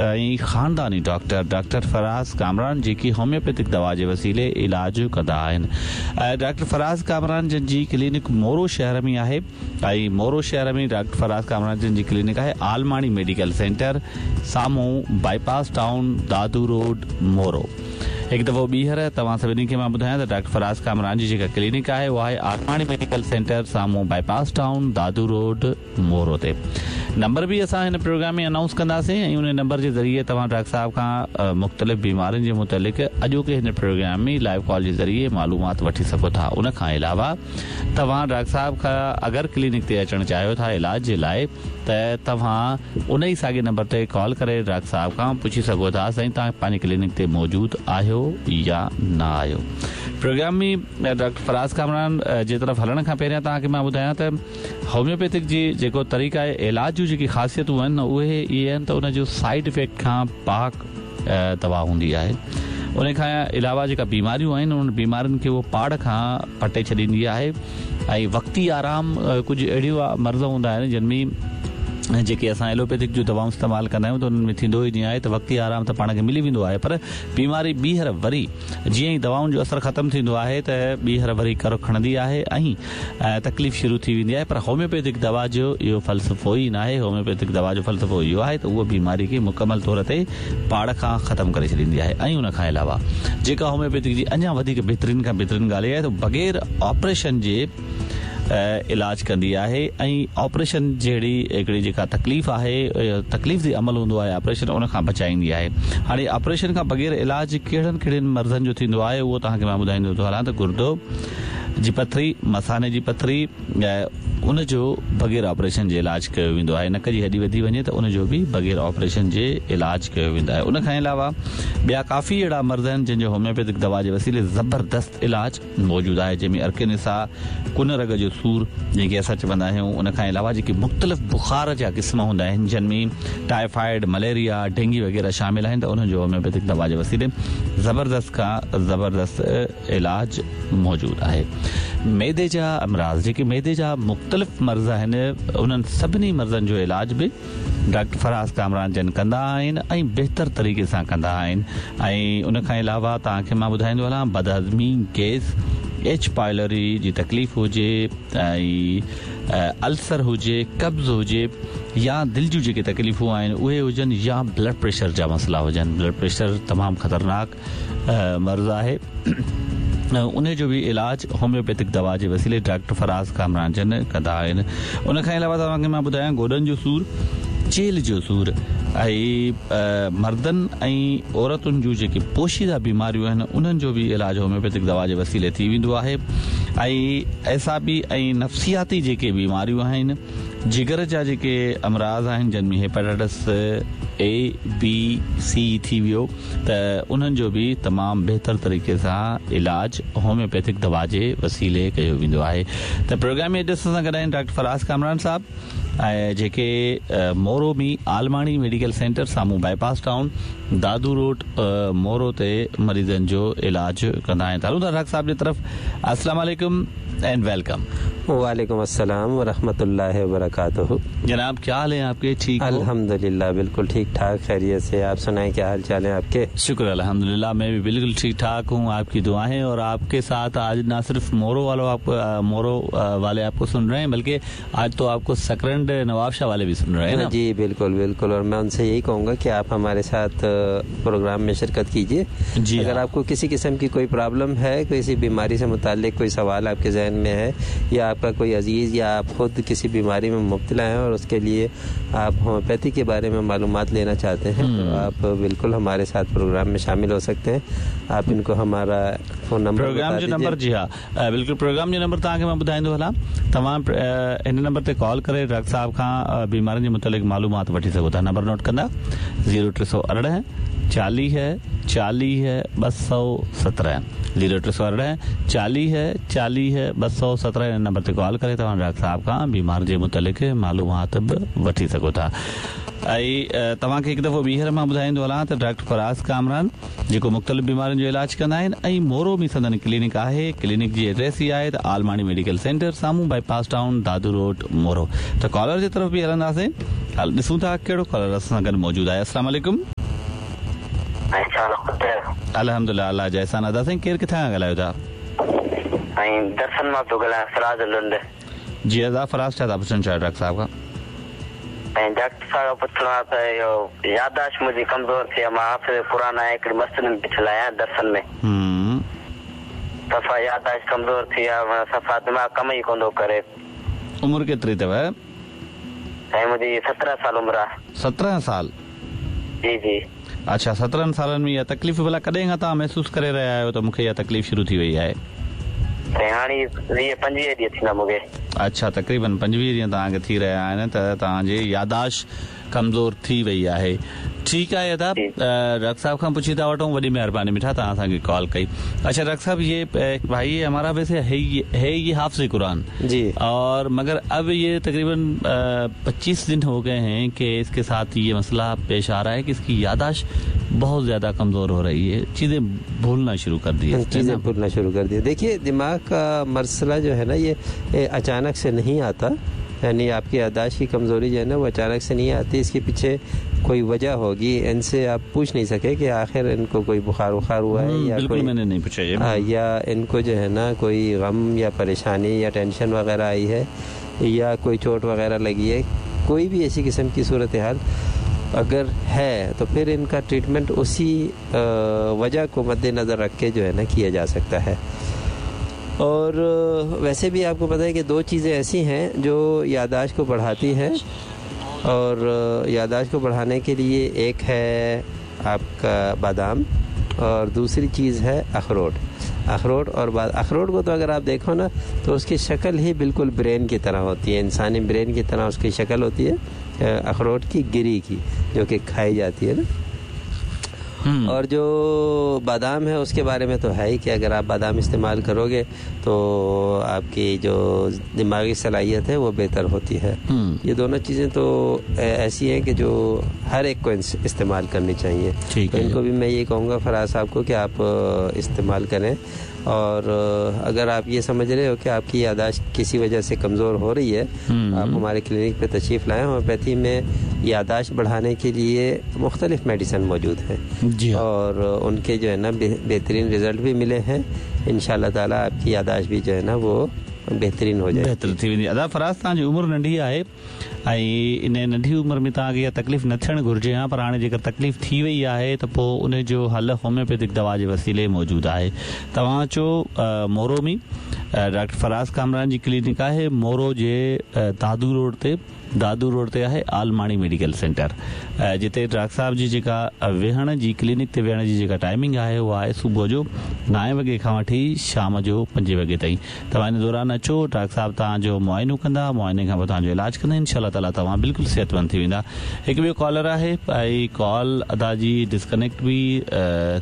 ۽ خانداني doctor doctor Faraz Kamran جيڪي homeopathic دوا جي وسيلي علاج ڪندا آهن. ڊاڪٽر فراز ڪامران جن جي ڪلينڪ مورو شهر ۾ آهي ۽ مورو شهر ۾ ڊاڪٽر فراز ڪامران جن جي ڪلينڪ آهي عالماڻي ميڊيڪل سينٽر سامهون باء پاس ٽائون دادو روڊ مورو. هڪ دفعو ٻيهر توهان سڀني کي مان ٻڌايان ته ڊاڪٽر فراز ڪامران جي جيڪا ڪلينڪ آهي اها آهي عالماڻي ميڊيڪل سينٽر سامهون باء پاس ٽائون دادو روڊ مورو تي. نمبر به اسان هن پروگرام ۾ انائونس ڪنداسين ۽ ان نمبر جي ذريعي توهان ڊاڪٽر صاحب کان مختلف بيمارين جي متعلق اڄوڪي هن پروگرام ۾ لائيو ڪال جي ذريعي معلومات وٺي سگهو ٿا. ان کان علاوه توهان ڊاڪٽر صاحب کان اگر ڪلينڪ تي اچڻ چاهيو ٿا علاج جي لاء ته توهان ان ئي ساڳي نمبر تي ڪال ڪري ڊاڪٽر صاحب کان پڇي سگهو ٿا سائين توهان پنهنجي ڪلينڪ تي موجود آهيو يا نه آهيو. پروگرام ۾ ڊاڪٽر فراز ڪامران جي طرف هلڻ کان پهريان توهان کي مان ٻڌايان ته هوميوپيٿڪ جي جيڪو طريقه علاج جون جيڪي خاصيتون آهن اهي اهي آهن ته ان جو سائيڊ افيڪٽ کان پاڪ دوا هوندي آهي ان کان علاوه جيڪا بيماريون آهن انهن بيمارين کي اهو پاڙ کان پٽي ڇڏيندي آهي ۽ وقتي آرام ڪجهه اهڙيون مرض هوندا آهن جن ۾ جيڪي اسان ايلوپيٿڪ جون دوائون استعمال ڪندا آهيون ته انهن ۾ ٿيندو ئي ائين آهي ته وقتي آرام ته پاڻ کي ملي ويندو آهي پر بيماري ٻيهر وري جيئن ئي دوائن جو اثر ختم ٿيندو آهي ته ٻيهر وري ڪر کڻندي آهي ۽ تڪليف شروع ٿي ويندي آهي پر هوميوپيٿڪ دوا جو اهو فلسفو ئي ناهي هوميوپيٿڪ دوا جو فلسفو اهو آهي ته اهو بيماري کي مڪمل طور تي پاڙ کان ختم ڪري ڇڏيندي آهي ۽ ان کان علاوه جيڪا هوميوپيٿڪ جي اڃا وڌيڪ بهترين کان بهترين ڳالهه اها آهي ته بغير آپريشن جي علاج ڪندي آهي ۽ آپريشن جهڙي هڪڙي جيڪا تڪليف آهي تڪليف the عمل هوندو آهي آپريشن ان کان بچائيندي آهي هاڻي آپريشن کان بغير علاج ڪهڙن ڪهڙن مرضن جو ٿيندو آهي اهو توهان کي مان ٻڌائيندو ٿو هلان ته گردو جي پٿري، مثاني جي پٿري، ان جو بغير آپريشن جي علاج ڪيو ويندو آهي. نڪ جي هڏي وڌي وڃي ته ان جو به بغير آپريشن جي علاج ڪيو ويندو آهي. ان کان علاوه ٻيا ڪافي اهڙا مرض آهن جن جو هوميوپيٿڪ دوا جي وسيلي زبردست علاج موجود آهي جنهن ۾ عرق نساء، ڪن رڳ جو سور جنهن کي اسان چوندا آهيون ان کان علاوه جيڪي مختلف بخار جا قسم هوندا آهن جن ۾ ٽائيفائيڊ، مليريا، ڊينگي وغيره شامل آهن ته انهن جو هوميوپيٿڪ دوا جي وسيلي زبردست کان زبردست علاج موجود آهي. معدي جا امراض جيڪي معدي جا مختلف مرض آهن انهن سڀني مرضن جو علاج به ڊاڪٽر فراز ڪامران جن ڪندا آهن ۽ بهتر طريقي سان ڪندا آهن ۽ ان کان علاوه توهان کي مان ٻڌائيندو هلان بدهضمي، گيس، ايڇ پائلوري جي تڪليف هجي ۽ السر هجي، قبض هجي يا دل جون جيڪي تڪليفون آهن اهي هجن يا بلڊ پريشر جا مسئلا هجن بلڊ پريشر تمام خطرناڪ مرض آهي ان جو به علاج هوميوپيٿڪ دوا جي وسيلي ڊاڪٽر فراز ڪامران جن ڪندا آهن ان کان علاوه توهان کي مان ٻڌايان گوڏن جو سور چيلهه جو سور ۽ مردن ۽ عورتن جون جيڪي پوشيده بيماريون آهن انهن جو به علاج هوميوپيٿڪ دوا جي وسيلي ٿي ويندو آهي ۽ اعصابي ۽ نفسياتي جيڪي بيماريون آهن جگر جا جيڪي امراض آهن جن ۾ هيپاٽائٽس اي بي سي ٿي ويو ته انهن جو به تمام بهتر طريقي سان علاج هوميوپيٿڪ دوا جي وسيلي ڪيو ويندو آهي ته پروگرام ۾ اڄ اسان سان گڏ آهن ڊاڪٽر فراز ڪامران صاحب ۽ جيڪي مورو ۾ عالماڻي ميڊيڪل سينٽر سامهون باء پاس ٽائون دادو روڊ مورو تي مريضن جو علاج ڪندا آهن ته هلون ٿا ڊاڪٽر صاحب جي طرف السلام عليڪم اينڊ welcome. وعليڪم السلام ورحمة الله وبرڪاته. جناب کيا حال هين آپ ڪي ٺيڪ هو. الحمدلله بلڪل ٺيڪ ٺاڪ خيريت سي آپ سنائين کيا حال چال هين آپ ڪي. شڪر الحمدلله مين بهي بلڪل ٺيڪ ٺاڪ هون آپ ڪي دعائين اور آپ ڪي ساٿ آج نا صرف مورو والو آپ مورو والي آپ ڪو سن رهي هين بلڪه آج تو آپ ڪو سڪرنڊ نواب شاهه والي بهي سن رهي هين نا. جي بلڪل بلڪل اور مين ان سي يهي ڪهون گا ڪي آپ هماري ساٿ پروگرام ۾ شرڪت ڪيجئي جي اگر ها. آپ ڪو ڪسي قسم ڪي ڪوئي پرابلم هي ڪسي بيماري سي متعلق ڪوئي سوال آپ ڪي ذهن ۾ هي يا آپ ڪا ڪوئي عزيز يا آپ خود ڪسي بيماري ۾ مبتلا هين اور اس ڪي ليي آپ هوميوپيٿي ڪي باري ۾ معلومات لينا چاهتي هين تو آپ بلڪل هماري ساٿ پروگرام ۾ شامل هو سڪتي هين آپ ان ڪو همارا فون نمبر پروگرام بتا جو نمبر ديجئي. جي ها بلڪل پروگرام جو نمبر توهان کي مان ٻڌائيندو هلان توهان هن نمبر تي ڪال ڪري ڊاڪٽر صاحب کان بيمارين جي متعلق معلومات وٺي سگهو ٿا نمبر نوٽ ڪندا زيرو 318 40 40 217 زيرو 318 40 40 217 هن نمبر تي ڪال ڪري توهان ڊاڪٽر صاحب کان بيمارين جي متعلق معلومات به وٺي سگهو ٿا ۽ توهان کي هڪ دفعو ٻيهر مان ٻڌائيندو هلان ته ڊاڪٽر فراز ڪامران جيڪو مختلف بيمارين جو علاج ڪندا آهن ۽ مورو ۾ سندن ڪلينڪ آهي ڪلينڪ جي ايڊريس هي آهي ته عالماڻي ميڊيڪل سينٽر سامهون باء پاس ٽائون دادو روڊ مورو ته ڪالر جي طرف به هلنداسين هل ڏسون ٿا ڪهڙو ڪالر اسان سان گڏ موجود آهي السلام عليڪم. अल्हम्दुलिल्लाह अल्लाह जा एहसान। अदा साईं केरु किथां खां ॻाल्हायो था? साईं दर्शन मां पियो ॻाल्हायां, फराज़ लुंड। जी अदा फराज़, छा था पुछणु चाहियो डॉक्टर साहब खां? साईं डॉक्टर साहब खां पुछणो आहे त इहो यादाश्त मुंहिंजी कमज़ोर थी आहे। मां हाफ़िज़ क़ुर आहियां, हिकिड़ी मस्जिद में बीठल आहियां दर्शन में। सफ़ा यादाश्त कमज़ोर थी आहे, माना सफ़ा दिमाग़ कम ई कोन थो करे। उमिरि केतिरी अथव? साईं मुंहिंजी 17 साल उमिरि आहे। 17 साल? जी जी। अच्छा, 17 सालनि में इहा तकलीफ़ भला कॾहिं खां तव्हां महसूसु करे रहिया आहियो त मूंखे इहा तकलीफ़ शुरू थी वई आहे? साईं हाणे 20-25 ॾींहं थींदा मूंखे। अच्छा, तक़रीबन 25 ॾींहं तव्हांखे थी रहिया आहिनि त तव्हांजी यादाश्त कमज़ोर थी वई आहे। ठीकु आहे अदा, डॉक्टर साहब खां पुछी था वठूं। वॾी महिरबानी मिठा, तव्हां असांखे कॉल कई। अच्छा डॉक्टर साहब, ये भाई हमारा वैसे है ये हाफ़िज़ कुरान जी, और मगर अब ये तकरीबन 25 दिन हो गए हैं कि इसके साथ ये मसला पेश आ रहा है कि इसकी यादाश्त बहुत ज़्यादा कमज़ोर हो रही है, चीज़ें भूलना शुरू कर दी है। चीज़ें भूलना शुरू कर दी। देखिए, दिमाग का मसला जो है ना, ये अचानक से नहीं आता, यानी आपकी यादाश्त की कमज़ोरी जो है ना वो अचानक से नहीं आती, इसके पीछे कोई वजह होगी। इनसे आप पूछ नहीं सके कि आखिर इनको कोई बुखार उखार हुआ है या बिल्कुल कोई, मैंने नहीं पूछा ये, या इनको जो है ना कोई गम या परेशानी या टेंशन वगैरह आई है या कोई चोट वगैरह लगी है, कोई भी ऐसी किस्म की सूरत हाल अगर है तो फिर इनका ट्रीटमेंट उसी वजह को मद्देनज़र रख के जो है ना किया जा सकता है। और वैसे भी आपको पता है कि दो चीज़ें ऐसी हैं जो यादाश्त को बढ़ाती हैं, और यादाश्त को बढ़ाने के लिए एक है आपका बादाम और दूसरी चीज़ है अखरोट। अखरोट और अखरोट को तो अगर आप देखो ना तो उसकी शक्ल ही बिल्कुल ब्रेन की तरह होती है, इंसानी ब्रेन की तरह उसकी शक्ल होती है अखरोट की गिरी की, जो कि खाई जाती है ना। और जो बादाम है उसके बारे में तो है ही कि अगर आप बादाम इस्तेमाल करोगे तो आपकी जो दिमागी सलाहियत है वो बेहतर होती है। ये दोनों चीज़ें तो ऐसी हैं कि जो हर एक को इस्तेमाल करनी चाहिए। तो इनको भी मैं ये कहूँगा फराज साहब को कि आप इस्तेमाल करें। और अगर आप ये समझ रहे हो कि आपकी यादाश्त किसी वजह से कमज़ोर हो रही है, आप हमारे क्लिनिक पे तशरीफ़ लाएँ। होम्योपैथी में यादाश्त बढ़ाने के लिए मुख्तलिफ़ मेडिसिन मौजूद हैं और उनके जो है ना बेहतरीन रिज़ल्ट भी मिले हैं। इंशाअल्लाह ताला आपकी यादाश्त भी जो है ना वो बेहतरीन हो जाए, बेहतर थी वेंदी। अदा फराज़, तव्हांजी उमिरि नंढी आहे ऐं इन नंढी उमिरि में तव्हांखे इहा तकलीफ़ न थियणु घुरिजे हा, पर हाणे जेकर तकलीफ़ थी वई आहे त पोइ उन जो हल होम्योपैथिक दवा जे वसीले मौजूदु आहे। तव्हां अचो मोरो में, डॉक्टर फराज़ कामरान जी क्लिनिक आहे मोरो जे दादू रोड ते, दादू रोड ते आहे आलमाणी मेडिकल सेंटर, जिते डॉक्टर साहब जी जेका वेहण जी क्लिनिक ते वेहण जी जेका टाइमिंग आहे उहा आहे सुबुह जो 9 वॻे खां वठी शाम जो 5 वॻे ताईं। तव्हां इन दौरान अचो, डॉक्टर साहब तव्हांजो मुआइनो कंदा, मुआइने खां पोइ तव्हांजो इलाज कंदा, इंशाअल्लाह ताला तव्हां बिल्कुलु सिहतमंद थी वेंदा। हिकु ॿियो कॉलर आहे ऐं कॉल अदा जी डिस्कनेक्ट बि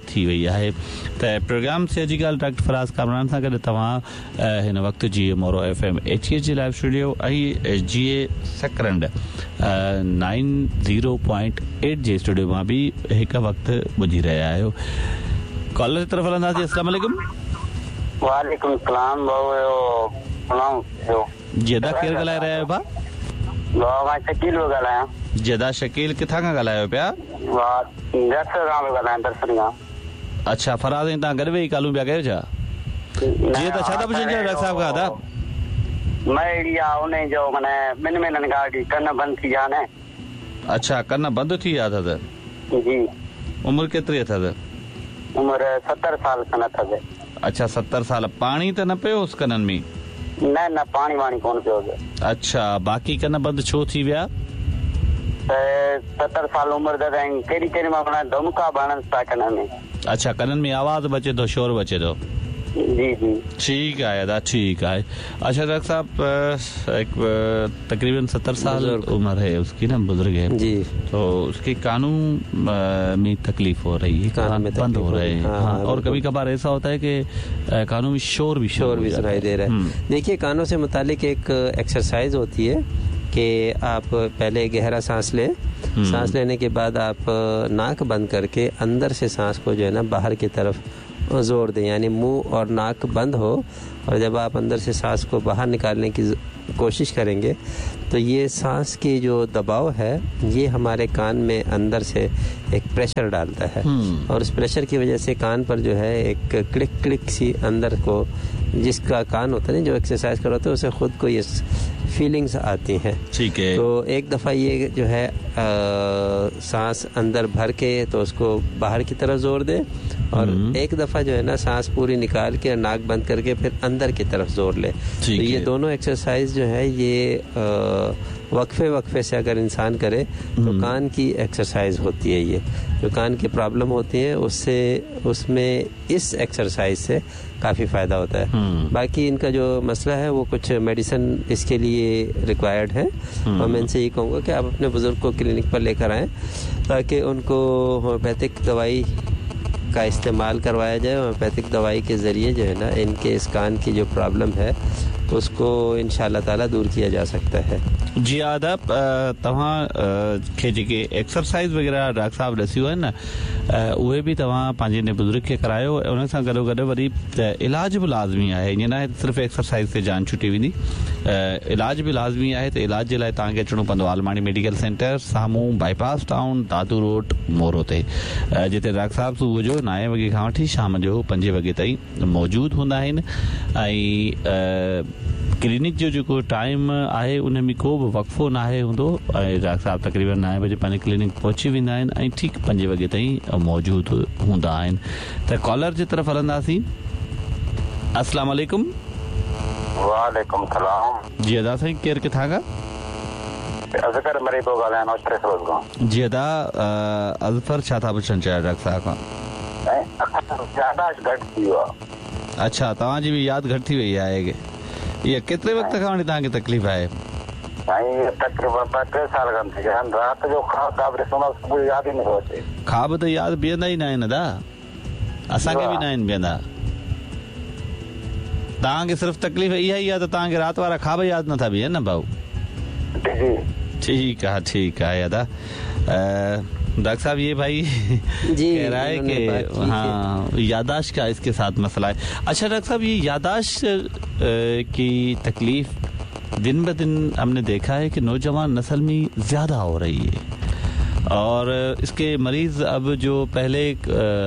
थी वई आहे। त प्रोग्राम से जी ॻाल्हि डॉक्टर फराज़ कामरान सां गॾु तव्हां हिन वक़्तु जी मोरो FM 88 जे लाइव स्टूडियो ऐं जी सकरंड 90.8 जे स्टूडियो मां बि हिकु वक़्तु ॿुधी रहिया आहियो। कॉलर जी तरफ़ हलंदासीं। अस्सलाम वालेकुम। वालेकुम सलाम। जी अदा, केरु ॻाल्हाए रहिया आहियो भाउ? मां शकील पियो ॻाल्हायां। जी अदा शकील, किथां खां ॻाल्हायो पिया? दर्शन खां पियो ॻाल्हायां, दर्शन खां। अच्छा फराज़, ऐं तव्हां गॾु वेही कॉलूं पिया कयो छा? जी त छा था पुछणु चाहियो डॉक्टर साहब खां? अदा मैं अहिड़ी आहे उन जो माना ॿिनि महीननि खां वठी कन बंदि थी विया आहिनि। अच्छा, कन बंदि थी विया अथसि? जी। उमिरि केतिरी अथसि? उमिरि 70 साल खनि अथसि। अच्छा 70 साल। पाणी त न पियो हुउसि कननि में? न न, पाणी वाणी कोन पियो हुउसि। अच्छा, बाक़ी कन बंदि छो थी विया? त 70 साल उमिरि अथसि ऐं केॾी केॾी महिल माना धमका बि हणनि था कननि में। अच्छा, कननि में आवाज़ बि अचे थो, शोर बि अचे थो। जी जी, ठीक है अदा, ठीक है। अच्छा डॉक्टर साहब, एक तकरीबन 70 साल उम्र है उसकी ना, बुजुर्ग है जी, तो उसके कानों में तकलीफ हो रही है, कान बंद हो रहे हैं। हाँ, और कभी कभार ऐसा होता है कि कानों में शोर भी सुनाई दे रहा है। देखिए, कानों से मुतालिक एक एक्सरसाइज होती है कि आप पहले गहरा सांस लें, सांस लेने के बाद आप नाक बंद करके अंदर से सांस को जो है ना बाहर की तरफ ज़ोर दें, यानी मुंह और नाक बंद हो, और जब आप अंदर से सांस को बाहर निकालने की कोशिश करेंगे तो ये सांस की जो दबाव है ये हमारे कान में अंदर से एक प्रेशर डालता है और उस प्रेशर की वजह से कान पर जो है एक क्लिक क्लिक सी अंदर को, जिसका कान होता है ना, जो एक्सरसाइज कर रहा होता है उसे खुद को ये फीलिंग्स आती हैं। ठीक है। तो एक दफ़ा ये जो है सांस अंदर भर के तो उसको बाहर की तरफ जोर दे, और एक दफ़ा जो है ना सांस पूरी निकाल के नाक बंद करके फिर अंदर की तरफ जोर ले। तो ये दोनों एक्सरसाइज जो है ये वक्फे वक्फे से अगर इंसान करे तो कान की एक्सरसाइज होती है। ये जो कान की प्रॉब्लम होती है उससे, उसमें इस एक्सरसाइज से काफ़ी फ़ायदा होता है। बाकी इनका जो मसला है वो कुछ मेडिसिन इसके लिए रिक्वायर्ड है, और मैं इनसे ये कहूँगा कि आप अपने बुज़ुर्ग को क्लिनिक पर लेकर आएँ ताकि उनको होम्योपैथिक दवाई का इस्तेमाल करवाया जाए। होम्योपैथिक दवाई के ज़रिए जो है ना इनके इस कान की जो प्रॉब्लम है उसको इंशाअल्लाह ताला दूर किया जा सकता है। जी आदाब, तव्हां खे जेके एक्सरसाइज वग़ैरह डॉक्टर साहब ॾसियूं आहिनि न, उहे बि तव्हां पंहिंजे हिन बुज़ुर्ग खे करायो। उन सां गॾो गॾु वरी इलाज बि लाज़मी आहे, ईअं न आहे सिर्फ़ु एक्सरसाइज ते जान छुटी वेंदी, इलाज बि लाज़मी आहे। त इलाज जे लाइ तव्हांखे अचिणो पवंदो आलमाणी मेडिकल सेंटर, साम्हूं bypass town, Dadu road, Moro ते, जिते डॉक्टर साहब सुबुह जो 9 वॻे खां वठी शाम जो 5 वॻे ताईं मौजूदु हूंदा आहिनि। ऐं क्लिनिक जो जेको टाइम आहे उन में को बि वक़्फ़ो न आहे हूंदो, ऐं डॉक्टर साहब तक़रीबन 9 बजे पंहिंजे क्लिनिक पहुची वेंदा आहिनि ऐं ठीकु 5 वॻे ताईं मौजूदु हूंदा आहिनि। त कॉलर जे तरफ़ हलंदासीं। अस्सलाम वालेकुम। वालेकुम सलाम। जी अदा साईं, केरु किथां खां? अज़कर मरी थो ॻाल्हायां, नौशहरो फिरोज़ खां। जी अदा, अज़फर छा था पुछणु चाहियो डॉक्टर साहब खां? यादाश्त घटि थी वियो आहे। अच्छा, तव्हांजी बि यादि घटि थी वई आहे। इहा केतिरे वक़्त खां वठी तव्हांखे तकलीफ़ आहे? साईं तक़रीबन 2-3 साल खां थी। राति जो ख़्वाब ॾिसंदो सुबुह यादि ई नथो अचे। ख़्वाब त यादि बीहंदा ई न आहिनि अदा, असांखे बि न आहिनि बीहंदा। तव्हांखे सिर्फ़ु तकलीफ़ इहा ई आहे त तव्हांखे राति वारा ख़्वाब यादि नथा बीहनि न भाऊ? ठीक आहे, ठीक आहे अदा। डॉक्टर साहब ये भाई जी कह रहा है कि हाँ यादाश्त का इसके साथ मसला है। अच्छा डॉक्टर साहब, ये यादाश्त की तकलीफ दिन ब दिन हमने देखा है कि नौजवान नस्ल में ज़्यादा हो रही है, और इसके मरीज़ अब जो पहले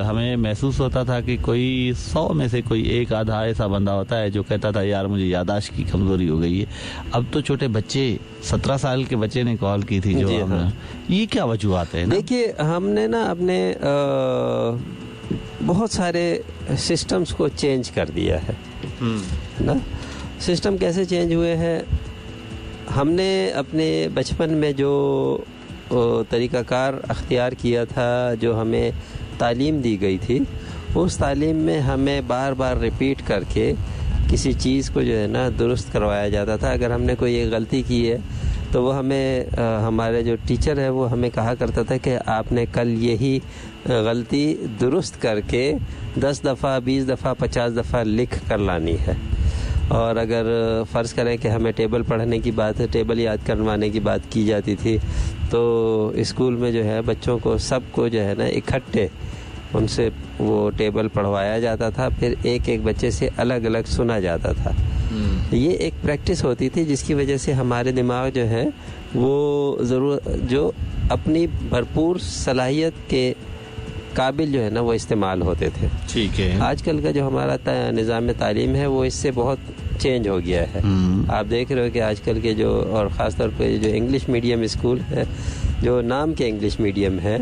हमें महसूस होता था कि कोई 100 में से कोई एक आधा ऐसा बंदा होता है जो कहता था यार मुझे यादाश्त की कमज़ोरी हो गई है, अब तो छोटे बच्चे 17 साल के बच्चे ने कॉल की थी जो हाँ। ये क्या वजूहत है? देखिए, हमने ना अपने बहुत सारे सिस्टम्स को चेंज कर दिया है ना। सिस्टम कैसे चेंज हुए हैं? हमने अपने बचपन में जो तरीक़ाकार अख्तियार किया था, जो हमें तालीम दी गई थी, उस तालीम में हमें बार बार रिपीट करके किसी चीज़ को जो है ना दुरुस्त करवाया जाता था। अगर हमने कोई एक गलती की है तो वो हमें हमारे जो टीचर है वो हमें कहा करता था कि आपने कल यही गलती दुरुस्त करके 10 दफ़ा 20 दफ़ा 50 दफ़ा लिख कर लानी है। और अगर फ़र्ज़ करें कि हमें टेबल पढ़ने की बात है, टेबल याद करवाने की बात की जाती थी, तो स्कूल में जो है बच्चों को सबको जो है ना इकट्ठे उनसे वो टेबल पढ़वाया जाता था, फिर एक एक बच्चे से अलग अलग सुना जाता था। ये एक प्रैक्टिस होती थी जिसकी वजह से हमारे दिमाग जो है वो ज़रूर जो अपनी भरपूर सलाहियत के काबिल जो है ना वो इस्तेमाल होते थे। ठीक है। आजकल का जो हमारा निज़ाम तालीम है वो इससे बहुत चेंज हो गया है। आप देख रहे हो कि आजकल के जो, और ख़ास तौर पे जो इंग्लिश मीडियम स्कूल है, जो नाम के इंग्लिश मीडियम है,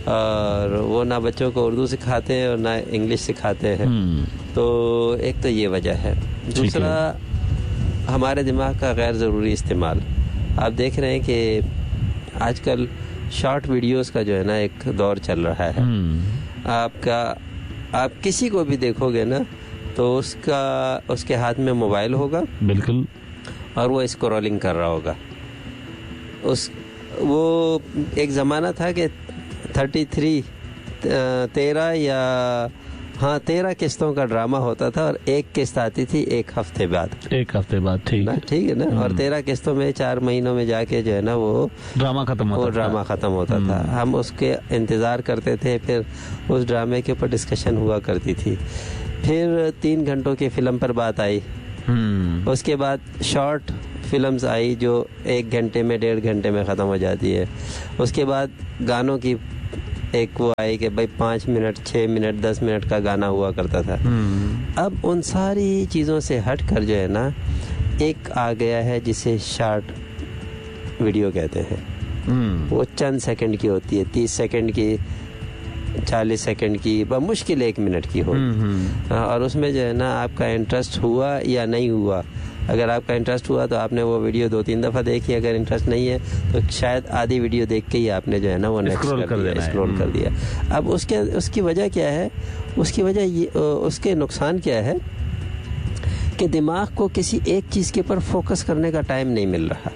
और वो ना बच्चों को उर्दू सिखाते हैं और ना इंग्लिश सिखाते हैं। तो एक तो ये वजह है। दूसरा, हमारे दिमाग का गैर ज़रूरी इस्तेमाल। आप देख रहे हैं कि आजकल शॉर्ट वीडियोस का जो है ना एक दौर चल रहा है। आपका, आप किसी को भी देखोगे ना तो उसका, उसके हाथ में मोबाइल होगा, बिल्कुल, और वो स्क्रॉलिंग कर रहा होगा। उस वो एक ज़माना था कि 33 13 या हाँ, 13 किस्तों का ड्रामा होता था और एक किस्त आती थी एक हफ्ते बाद। एक हफ्ते बाद, ठीक है, ठीक है ना। और 13 किस्तों में 4 महीनों में जाके जो है ना वो ड्रामा खत्म होता, वो ड्रामा खत्म होता था। हम उसके इंतज़ार करते थे, फिर उस ड्रामे के ऊपर डिस्कशन हुआ करती थी। फिर 3 घंटों की फिल्म पर बात आई, उसके बाद शॉर्ट फिल्म्स आई जो 1 घंटे में 1.5 घंटे में ख़त्म हो जाती है। उसके बाद गानों की एक वो आई कि भाई 5 मिनट 6 मिनट 10 मिनट का गाना हुआ करता था। अब उन सारी चीज़ों से हट कर जो है ना एक आ गया है जिसे शॉर्ट वीडियो कहते हैं। वो चंद सेकंड की होती है, 30 सेकंड की, 40 सेकंड की, बमुश्किल 1 मिनट की होगी। और उसमें जो है ना आपका इंटरेस्ट हुआ या नहीं हुआ। अगर आपका इंटरेस्ट हुआ तो आपने वो वीडियो 2-3 दफ़ा देखी, अगर इंटरेस्ट नहीं है तो शायद आधी वीडियो देख के ही आपने जो है ना वो नेक्स्ट कर दिया, स्क्रॉल कर दिया। अब उसके उसकी वजह क्या है? उसकी वजह ये, उसके नुकसान क्या है कि दिमाग को किसी एक चीज़ के ऊपर फोकस करने का टाइम नहीं मिल रहा।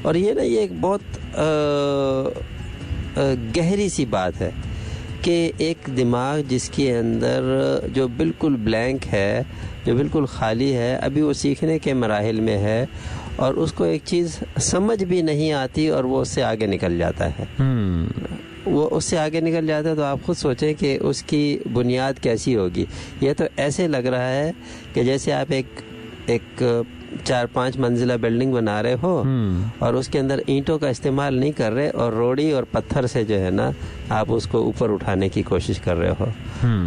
और ये ना ये एक बहुत गहरी सी बात है कि एक दिमाग जिसके अंदर जो बिल्कुल ब्लैंक है, जो बिल्कुल खाली है, अभी वो सीखने के मराहिल में है और उसको एक चीज़ समझ भी नहीं आती और वो उससे आगे निकल जाता है। वो उससे आगे निकल जाता है तो आप ख़ुद सोचें कि उसकी बुनियाद कैसी होगी। ये तो ऐसे लग रहा है कि जैसे आप एक 4-5 मंजिला बिल्डिंग बना रहे हो और उसके अंदर ईंटों का इस्तेमाल नहीं कर रहे और रोड़ी और पत्थर से जो है ना आप उसको ऊपर उठाने की कोशिश कर रहे हो।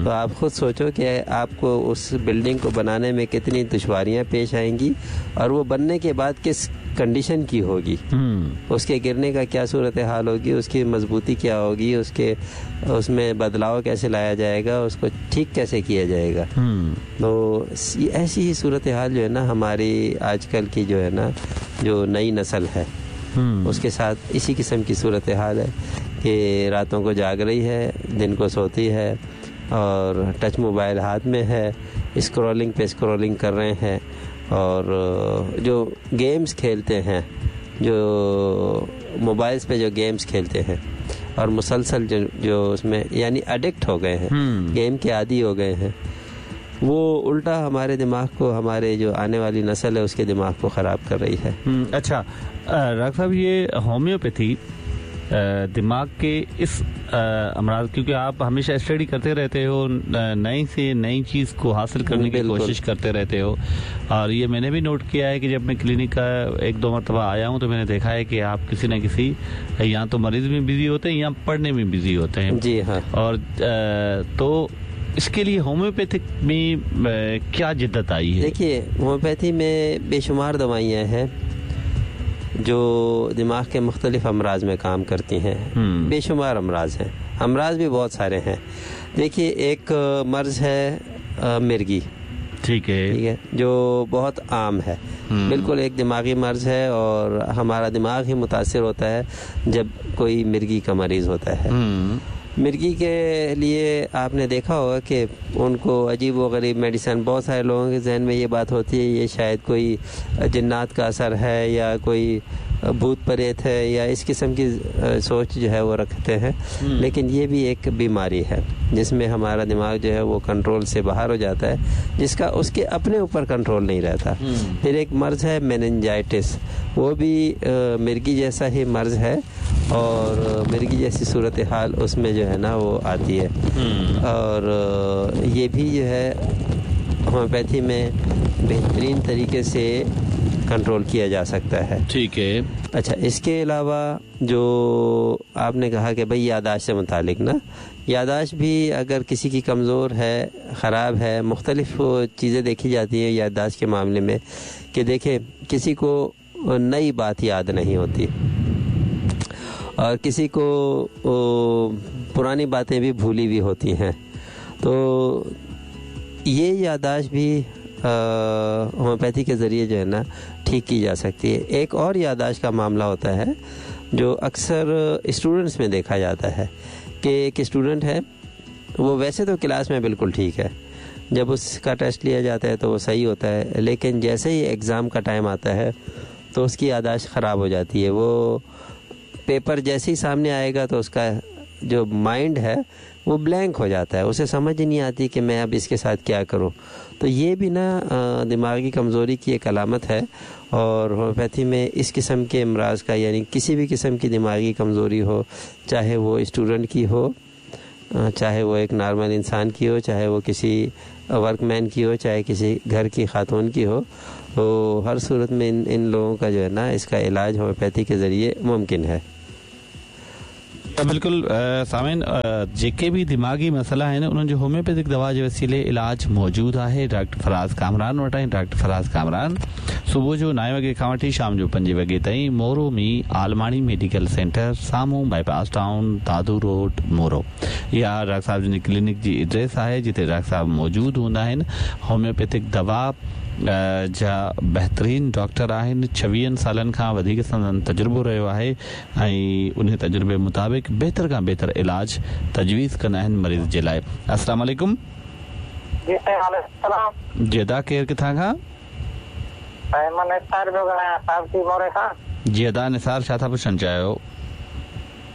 तो आप ख़ुद सोचो कि आपको उस बिल्डिंग को बनाने में कितनी दुश्वारियाँ पेश आएंगी और वो बनने के बाद किस कंडीशन की होगी, उसके गिरने का क्या सूरत हाल होगी, उसकी मजबूती क्या होगी, उसके उसमें बदलाव कैसे लाया जाएगा, उसको ठीक कैसे किया जाएगा। तो ऐसी ही सूरत हाल जो है ना हमारी आजकल की जो है ना जो नई नस्ल है उसके साथ इसी किस्म की सूरत हाल है कि रातों को जाग रही है, दिन को सोती है और टच मोबाइल हाथ में है, स्क्रॉलिंग पे स्क्रॉलिंग कर रहे हैं और जो गेम्स खेलते हैं, जो मोबाइल्स पे जो गेम्स खेलते हैं और मुसलसल जो उसमें यानी एडिक्ट हो गए हैं, गेम के आदी हो गए हैं, वो उल्टा हमारे दिमाग को, हमारे जो आने वाली नस्ल है उसके दिमाग को ख़राब कर रही है। अच्छा डॉक्टर साहब, ये होम्योपैथी दिमाग के इस अमराज, क्योंकि आप हमेशा स्टडी करते रहते हो, नई से नई चीज़ को हासिल करने की कोशिश करते रहते हो, और ये मैंने भी नोट किया है कि जब मैं क्लिनिक का 1-2 मरतबा आया हूँ तो मैंने देखा है कि आप किसी न किसी या तो मरीज़ में बिज़ी होते हैं या पढ़ने में बिज़ी होते हैं। जी हाँ। और तो इसके लिए होम्योपैथिक में क्या जिद्दत आई है? देखिए, होम्योपैथी में बेशुमार दवाइयाँ हैं जो दिमाग के मुख्तलिफ अमराज में काम करती हैं। बेशुमार अमराज हैं, अमराज भी बहुत सारे हैं। देखिए, एक मर्ज़ है मिर्गी, ठीक है, ठीक है, जो बहुत आम है, बिल्कुल एक दिमागी मर्ज़ है और हमारा दिमाग ही मुतासिर होता है जब कोई मिर्गी का मरीज़ होता है। मिर्गी के लिए आपने देखा होगा कि उनको अजीब व गरीब मेडिसिन, बहुत सारे लोगों के जहन में ये बात होती है ये शायद कोई जिन्नात का असर है या कोई भूत प्रेत है या इस किस्म की सोच जो है वो रखते हैं, लेकिन ये भी एक बीमारी है जिसमें हमारा दिमाग जो है वो कंट्रोल से बाहर हो जाता है, जिसका उसके अपने ऊपर कंट्रोल नहीं रहता। फिर एक मर्ज़ है मेनिंजाइटिस, वो भी मिर्गी जैसा ही मर्ज़ है और मिर्गी जैसी सूरत हाल उसमें जो है ना वो आती है। और ये भी जो है होम्योपैथी में बेहतरीन तरीके से कंट्रोल किया जा सकता है। ठीक है। अच्छा, इसके अलावा जो आपने कहा कि भाई यादाश्त से मुतालिक ना, यादाश्त भी अगर किसी की कमज़ोर है, ख़राब है, मुख्तलिफ़ चीज़ें देखी जाती हैं यादाश्त के मामले में कि देखें किसी को नई बात याद नहीं होती और किसी को पुरानी बातें भी भूली भी होती हैं, तो ये यादाश्त भी होम्योपैथी के ज़रिए जो है ना ठीक की जा सकती है। एक और यादाश्त का मामला होता है जो अक्सर स्टूडेंट्स में देखा जाता है कि एक स्टूडेंट है, वो वैसे तो क्लास में बिल्कुल ठीक है, जब उसका टेस्ट लिया जाता है तो वो सही होता है, लेकिन जैसे ही एग्ज़ाम का टाइम आता है तो उसकी यादाश्त ख़राब हो जाती है। वो पेपर जैसे ही सामने आएगा तो उसका जो माइंड है वो ब्लैंक हो जाता है, उसे समझ ही नहीं आती कि मैं अब इसके साथ क्या करूं। तो ये भी ना दिमागी कमज़ोरी की एक अलामत है। और होम्योपैथी में इस किस्म के अमराज का, यानी किसी भी किस्म की दिमागी कमज़ोरी हो, चाहे वो स्टूडेंट की हो, चाहे वो एक नॉर्मल इंसान की हो, चाहे वो किसी वर्कमैन की हो, चाहे किसी घर की खातून की हो, तो हर सूरत में इन लोगों का जो है ना इसका इलाज होम्योपैथी के ज़रिए मुमकिन है। बिल्कुल सामीन, जेके बि दिमागी मसइला आहिनि उन्हनि जो होम्योपैथिक दवा जे वसीले इलाज मौजूदु आहे डॉक्टर फराज़ कामरान वटि आहे। डॉक्टर फराज़ कामरान सुबुह जो 9 वॻे खां वठी शाम जो 5 वॻे ताईं मोरो में आलमाणी मेडिकल सेंटर साम्हूं बाईपास टाउन दादू रोड मोरो, इहा डॉक्टर साहिब जन जी क्लिनिक जी एड्रेस आहे जिते डॉक्टर साहिब मौजूदु हूंदा आहिनि। होम्योपैथिक दवा जा बहितरीन डॉक्टर आहिनि, 26 सालनि खां वधीक संदन तजुर्बो रहियो आहे ऐं उन तजुर्बे मुताबिक़ बहितर खां बहितर इलाज तजवीज़ कंदा आहिनि मरीज़ जे लाइ। अस्सलाम वालेकुम। जी साईं। जी अदा, केरु किथां खां? साईं मां निसार पियो ॻाल्हायां, सावती मोरे खां। जी अदा निसार, छा था पुछणु चाहियो?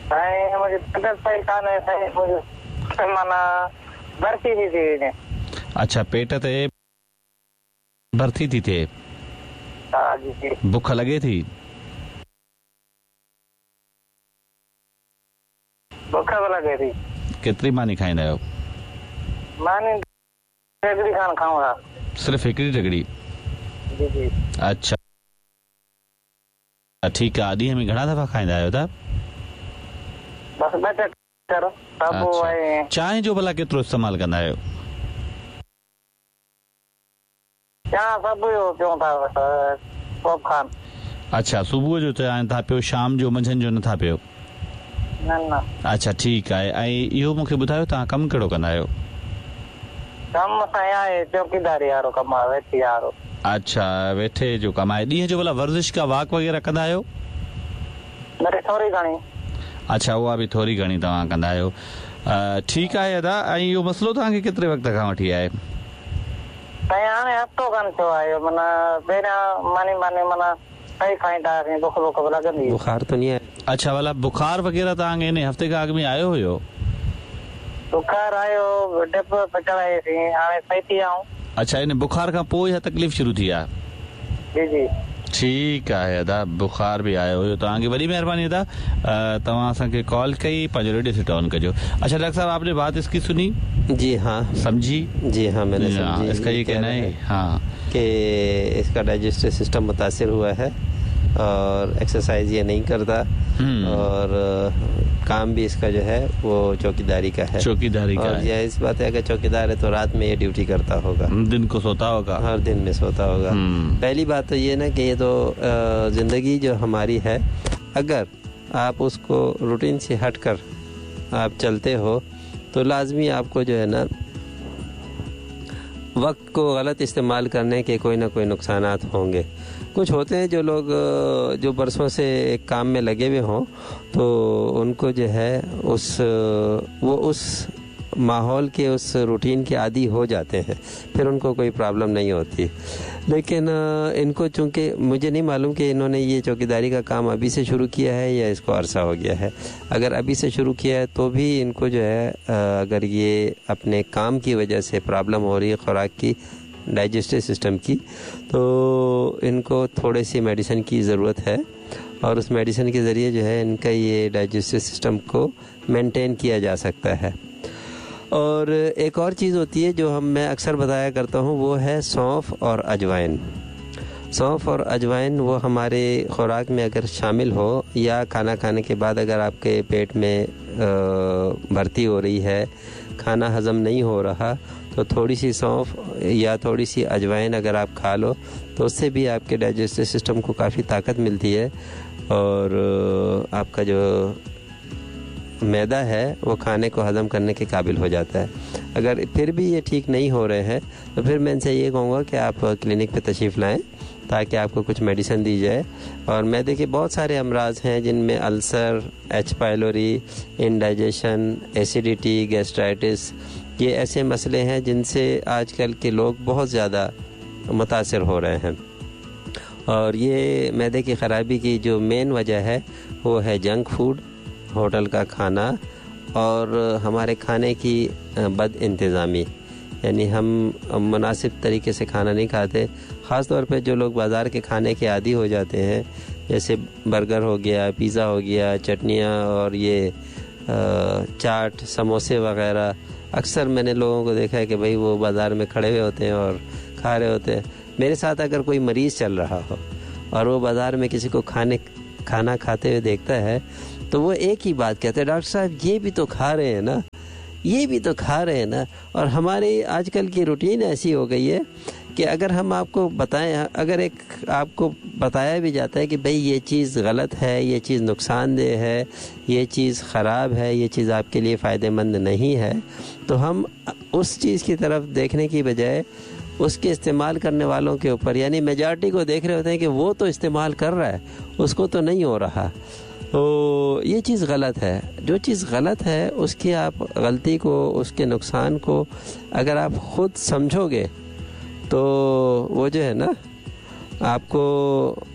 साईं मुंहिंजी तबियत सही कान्हे साईं, मुंहिंजी माना भर्ती थी थी वञे। अच्छा, पेट ते भर्ती थी थिए? हा जी जी। बुख लॻे थी? बुख बि लॻे थी। केतिरी मानी खाईंदा आहियो? मानी हिकिड़ी खान खाऊं था। सिर्फ़ु हिकिड़ी टकड़ी? जी जी। अच्छा ठीकु आहे। ॾींहं में घणा दफ़ा खाईंदा आहियो था? बसि ॿ चक्कर। चांहि जो भला केतिरो इस्तेमालु कंदा आहियो? अच्छा, सुबुह जो चांहि था पियो, शाम जो मंझंदि जो नथा पियो? न न। अच्छा ठीकु आहे। ऐं इहो मूंखे ॿुधायो तव्हां कमु कहिड़ो कंदा आहियो? कमु साईं आहे चौकीदारी वारो कमु आहे, वेठी वारो। अच्छा, वेठे जो कमु आहे। ॾींहं जो भला वर्ज़िश का वाक वग़ैरह कंदा आहियो? थोरी घणी। अच्छा, उहा बि थोरी घणी तव्हां कंदा आहियो। ठीकु आहे अदा। ऐं इहो मसइलो तव्हांखे केतिरे वक़्त खां वठी आहे? साईं हाणे हफ़्तो कन थियो आहे, माना पहिरियां मानी मानी माना सही खाईंदा हुआसीं, बुख बुख बि लॻंदी। बुखार त नहीं आहे? अच्छा, भला बुखार वग़ैरह तव्हांखे हिन हफ़्ते खां अॻु में आयो हुयो? बुखार आयो, डिप चढ़ाईसीं, हाणे सही थी विया आहियूं। अच्छा, इन बुखार खां पोइ इहा तकलीफ़ शुरू थी आहे? जी जी। ठीकु आहे अदा, बुखार बि आयो हुयो तव्हांखे। वॾी महिरबानी अदा, तव्हां असांखे कॉल कई, पंहिंजो रेडियो सेट ऑन कजो। अच्छा डॉक्टर साहब, आपने बात इसकी सुनी? जी हाँ। समझी? जी हाँ, मैंने समझी। इसका ये कहना है हाँ कि इसका डाइजेस्टिव सिस्टम मुतासिर हुआ है और एक्सरसाइज ये नहीं करता और काम भी इसका जो है वो चौकीदारी का है। चौकीदारी का और यह इस बात है अगर चौकीदार है तो रात में ये ड्यूटी करता होगा, दिन को सोता होगा, हर दिन में सोता होगा। पहली बात तो ये ना कि ये तो ज़िंदगी जो हमारी है, अगर आप उसको रूटीन से हट कर आप चलते हो तो लाजमी आपको जो है ना वक्त को गलत इस्तेमाल करने के कोई ना कोई नुकसानात होंगे। कुछ होते हैं जो लोग जो बरसों से एक काम में लगे हुए हों तो उनको जो है उस वो उस माहौल के उस रूटीन के आदी हो जाते हैं, फिर उनको कोई प्रॉब्लम नहीं होती। लेकिन इनको चूँकि मुझे नहीं मालूम कि इन्होंने ये चौकीदारी का काम अभी से शुरू किया है या इसको अरसा हो गया है। अगर अभी से शुरू किया है तो भी इनको जो है अगर ये अपने काम की वजह से प्रॉब्लम हो रही है खुराक की, डाइजेस्टिव सिस्टम की, तो इनको थोड़े सी मेडिसिन की ज़रूरत है और उस मेडिसिन के ज़रिए जो है इनका ये डाइजेस्टिव सिस्टम को मेंटेन किया जा सकता है। और एक और चीज़ होती है जो हम मैं अक्सर बताया करता हूँ, वो है सौंफ और अजवाइन। सौंफ और अजवाइन वो हमारे खुराक में अगर शामिल हो या खाना खाने के बाद अगर आपके पेट में भर्ती हो रही है, खाना हज़म नहीं हो रहा, तो थोड़ी सी सौंफ या थोड़ी सी अजवाइन अगर आप खा लो तो उससे भी आपके डाइजेस्टिव सिस्टम को काफ़ी ताकत मिलती है और आपका जो मैदा है वो खाने को हज़म करने के काबिल हो जाता है। अगर फिर भी ये ठीक नहीं हो रहे हैं तो फिर मैं इनसे ये कहूँगा कि आप क्लिनिक पे तशरीफ़ लाएँ ताकि आपको कुछ मेडिसिन दी जाए। और मैदे के बहुत सारे अमराज हैं जिनमें ulcer, H pylori, indigestion, acidity, gastritis, ये ऐसे मसले हैं जिनसे आजकल के लोग बहुत ज़्यादा मुतासिर हो रहे हैं। और ये मैदे की ख़राबी की जो मेन वजह है वो है जंक फूड, होटल का खाना और हमारे खाने की बद इंतज़ामी, यानी हम मुनासिब तरीके से खाना नहीं खाते। ख़ास तौर पे जो लोग बाज़ार के खाने के आदी हो जाते हैं, जैसे बर्गर हो गया, पिज़्ज़ा हो गया, चटनियाँ और ये चाट, समोसे वगैरह। अक्सर मैंने लोगों को देखा है कि भाई वो बाज़ार में खड़े हुए होते हैं और खा रहे होते हैं। मेरे साथ अगर कोई मरीज़ चल रहा हो और वो बाज़ार में किसी को खाना खाते हुए देखता है तो वो एक ही बात कहते हैं, डॉक्टर साहब ये भी तो खा रहे हैं ना, ये भी तो खा रहे हैं ना। और हमारी आजकल की रूटीन ऐसी हो गई है कि अगर हम आपको बताएं, अगर एक आपको बताया भी जाता है कि भाई ये चीज़ गलत है, ये चीज़ नुकसानदेह है, ये चीज़ ख़राब है, ये चीज़ आपके लिए फ़ायदेमंद नहीं है, तो हम उस चीज़ की तरफ देखने की बजाय उसके इस्तेमाल करने वालों के ऊपर, यानी मेजॉरिटी को देख रहे होते हैं कि वो तो इस्तेमाल कर रहा है, उसको तो नहीं हो रहा। तो ये चीज़ गलत है। जो चीज़ गलत है उसकी आप गलती को, उसके नुकसान को अगर आप ख़ुद समझोगे तो वो जो है ना आपको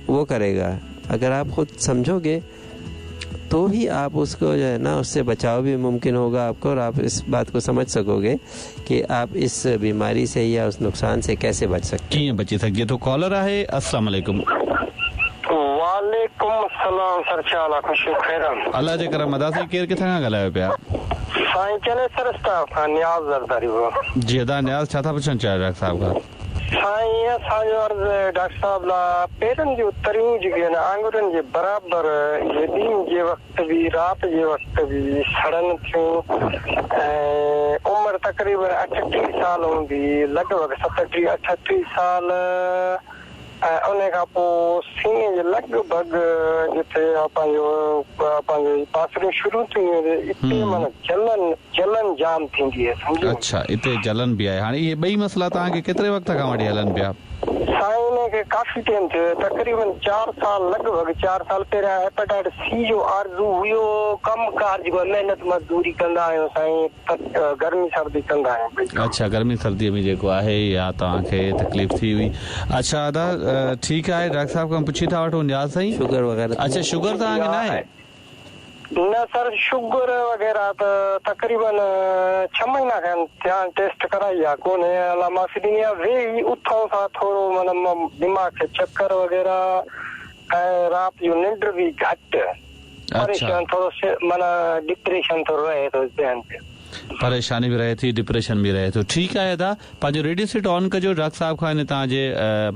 वो करेगा। अगर आप ख़ुद समझोगे तो ही आप उसको जो है ना उससे बचाव भी मुमकिन होगा आपको, और आप इस बात को समझ सकोगे कि आप इस बीमारी से या उस नुकसान से कैसे बच सकते हैं, बची सकते। तो कॉलर आहे, अस्सलाम वालेकुम। वालेकुम सलाम सर, छा खुश खैर? अल्लाह जे करम अदा। साईं केर किथां खां ॻाल्हायो पिया? साईं चने सर स्टाफ खां, नियाज़ ज़रदारी। जी अदा नियाज़, छा था पुछणु चाहियो डॉक्टर साहब खां? साईं असांजो अर्ज़ु डॉक्टर साहब लाइ पेरनि जूं तरियूं जेके आहिनि आङुरियुनि जे बराबरि इहे ॾींहुं जे वक़्तु बि राति जे वक़्तु बि सड़नि थियूं ऐं उमिरि तक़रीबन 38 साल हूंदी, लॻभॻि 37 38 साल। ऐं उन खां पोइ सीने जे लॻभॻि जिते पंहिंजो पंहिंजो पासरियूं शुरू थी वञे इते माना जलन जलन जाम थींदी आहे, सम्झो। अच्छा, इते जलन बि आहे। हाणे इहे ॿई मसइला तव्हांखे केतिरे वक़्त खां वठी हलनि पिया? साईं हिनखे काफ़ी टाइम थियो, तक़रीबन 4 साल, लॻभॻि 4 साल। पहिरियां हेपेटाइटिस सी जो आरज़ू हुयो, कम कार जेको महिनत मज़दूरी कंदा आहियूं साईं, गर्मी सर्दी कंदा आहियूं। अच्छा, गर्मी सर्दीअ में जेको आहे या तव्हांखे तकलीफ़ थी हुई। अच्छा अदा ठीकु आहे, डॉक्टर साहब खां पुछी था वठूं। नियाज़ साईं शुगर वग़ैरह? अच्छा, शुगर तव्हांखे न आहे? न सर, शुगर वग़ैरह त तक़रीबन 6 महीना खनि थिया आहिनि, टेस्ट कराई आहे कोन्हे, अलाह माफ़ी ॾींदी आहे। वेही उथूं सां थोरो माना दिमाग़ खे चक्कर वग़ैरह ऐं राति जो निंड बि घटि, परेशान थोरो माना डिप्रेशन थोरो रहे थो ज़हन ते, परेशानी बि रहे थी, डिप्रेशन बि रहे थो। ठीकु आहे अदा, पंहिंजो रेडियो सेट ऑन कजो, डॉक्टर साहब खां इन तव्हांजे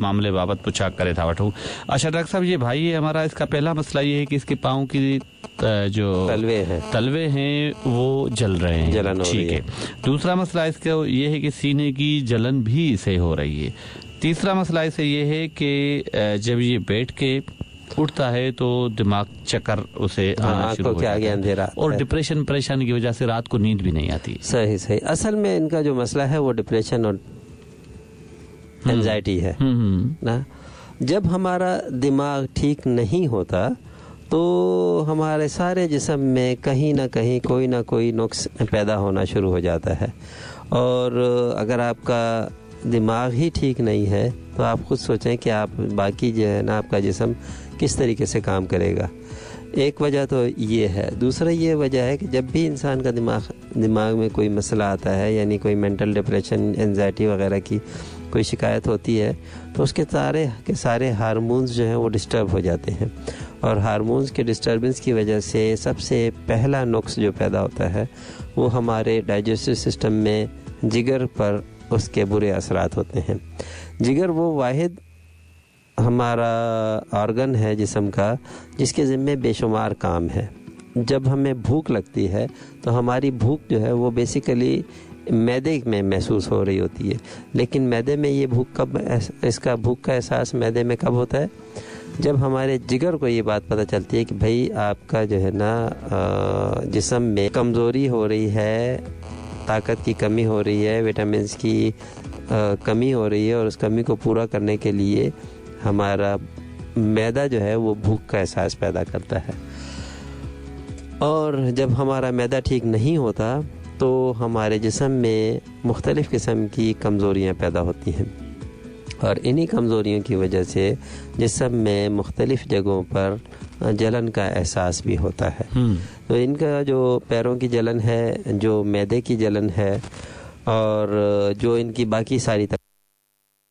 मामले बाबति पुछा करे था वठूं। अच्छा डॉक्टर साहब, ये भाई है हमारा, इसका पहला मसला ये है कि इसके पाँव की जो तलवे हैं वो जल रहे हैं, जलन हो रही ठीक है। दूसरा मसला इसका ये है कि सीने की जलन भी इसे हो रही है। तीसरा मसला इसे ये है कि जब ये बैठ के उठता है तो दिमाग चक्कर उसे आना शुरू हो जाता है और डिप्रेशन परेशानी की वजह से रात को नींद भी नहीं आती। सही सही। असल में इनका जो मसला है वो डिप्रेशन और एंजाइटी है ना। जब हमारा दिमाग ठीक नहीं होता तो हमारे सारे जिस्म में कहीं ना कहीं कोई ना कोई नुक्स पैदा होना शुरू हो जाता है। और अगर आपका दिमाग ही ठीक नहीं है तो आप खुद सोचें कि आप बाकी जो है ना आपका जिस्म किस तरीके से काम करेगा। एक वजह तो ये है। दूसरा ये वजह है कि जब भी इंसान का दिमाग में कोई मसला आता है, यानी कोई मेंटल डिप्रेशन, एंजाइटी वगैरह की कोई शिकायत होती है, तो उसके सारे के सारे हार्मोन्स जो हैं वो डिस्टर्ब हो जाते हैं। और हार्मोन्स के डिस्टर्बेंस की वजह से सबसे पहला नुक्स जो पैदा होता है वो हमारे डाइजेस्टिव सिस्टम में जिगर पर उसके बुरे असरात होते हैं। जिगर वो वाहिद हमारा ऑर्गन है जिस्म का जिसके ज़िम्मे बेशुमार काम है। जब हमें भूख लगती है तो हमारी भूख जो है वो बेसिकली मैदे में महसूस हो रही होती है, लेकिन मैदे में ये भूख कब, इसका भूख का एहसास मैदे में कब होता है? जब हमारे जिगर को ये बात पता चलती है कि भाई आपका जो है ना जिस्म में कमज़ोरी हो रही है, ताकत की कमी हो रही है, विटामिन्स की कमी हो रही है, और उस कमी को पूरा करने के लिए हमारा मैदा जो है वो भूख का एहसास पैदा करता है। और जब हमारा मैदा ठीक नहीं होता तो हमारे जिस्म में मुख्तलिफ़ किस्म की कमज़ोरियाँ पैदा होती हैं, और इन्हीं कमज़ोरियों की वजह से जिस्म में मुख्तलिफ़ जगहों पर जलन का एहसास भी होता है। तो इनका जो पैरों की जलन है, जो मैदे की जलन है और जो इनकी बाकी सारी